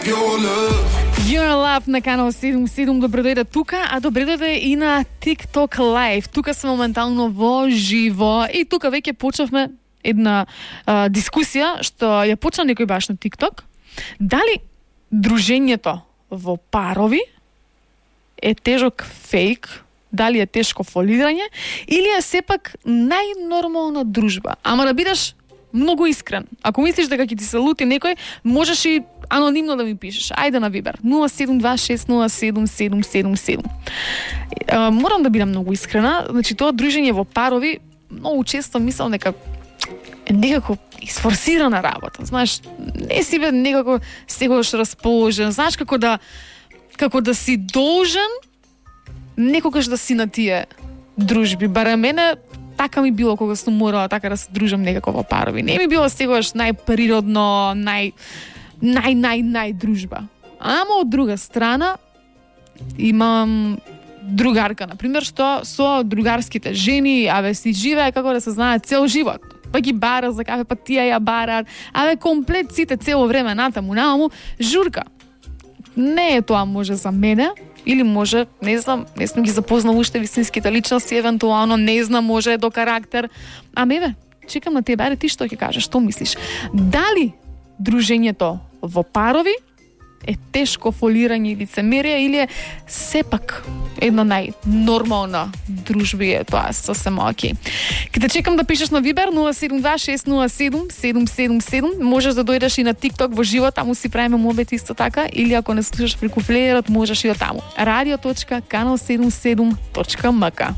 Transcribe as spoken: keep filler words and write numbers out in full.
Your Love на канал седум седум, добре дојде тука, а добре дојде и на TikTok Live. Тука сме моментално во живо и тука веќе почнавме една а, дискусија што ја почна некој баш на TikTok. Дали дружењето во парови е тежок фейк, дали е тешко фолирање или е сепак најнормална дружба? Ама да бидеш многу искрен. Ако мислиш дека ќе ти се лути некој, можеш и анонимно да ми пишеш. Ајде на Вибер нула седум два шест нула седум седум седум седум. Морам да бидам многу искрена. Значи тоа дружење во парови многу често мислам дека е некако изфорсирана работа. Знаеш, не си бе некако секогаш расположен. Знаеш како да како да си должен некогаш да си на тие дружби. Барем мене така ми било кога сум морала така да се дружам некако во парови. Не ми било сегаш најприродно, нај нај нај нај дружба. Ама од друга страна имам другарка, на пример, што со другарските жени, абе си живее како да се знае цел живот. Па ги бара за кафе, па тие ја барат. Абе комплет сите цело време натаму, намаму, журка. Не е тоа може за мене, или може, не знам, не сум ги запознал уште вистинските личности, евентуално, не знам, може до карактер. Аме бе, чекам на тебе, ајде ти што ќе кажеш, што мислиш? Дали дружењето во парови е тешко фолирање и лицемерие или е сепак една најнормална дружба е тоа сосем оки. Ке те чекам да пишеш на Вибер нула седум два шест нула седум седум седум седум. Можеш да дојдеш и на TikTok во живо, таму си правиме мобет исто така, или ако не слушаш преку плеерот, можеш и од таму. радио точка канал седумдесет и седум точка ем ка.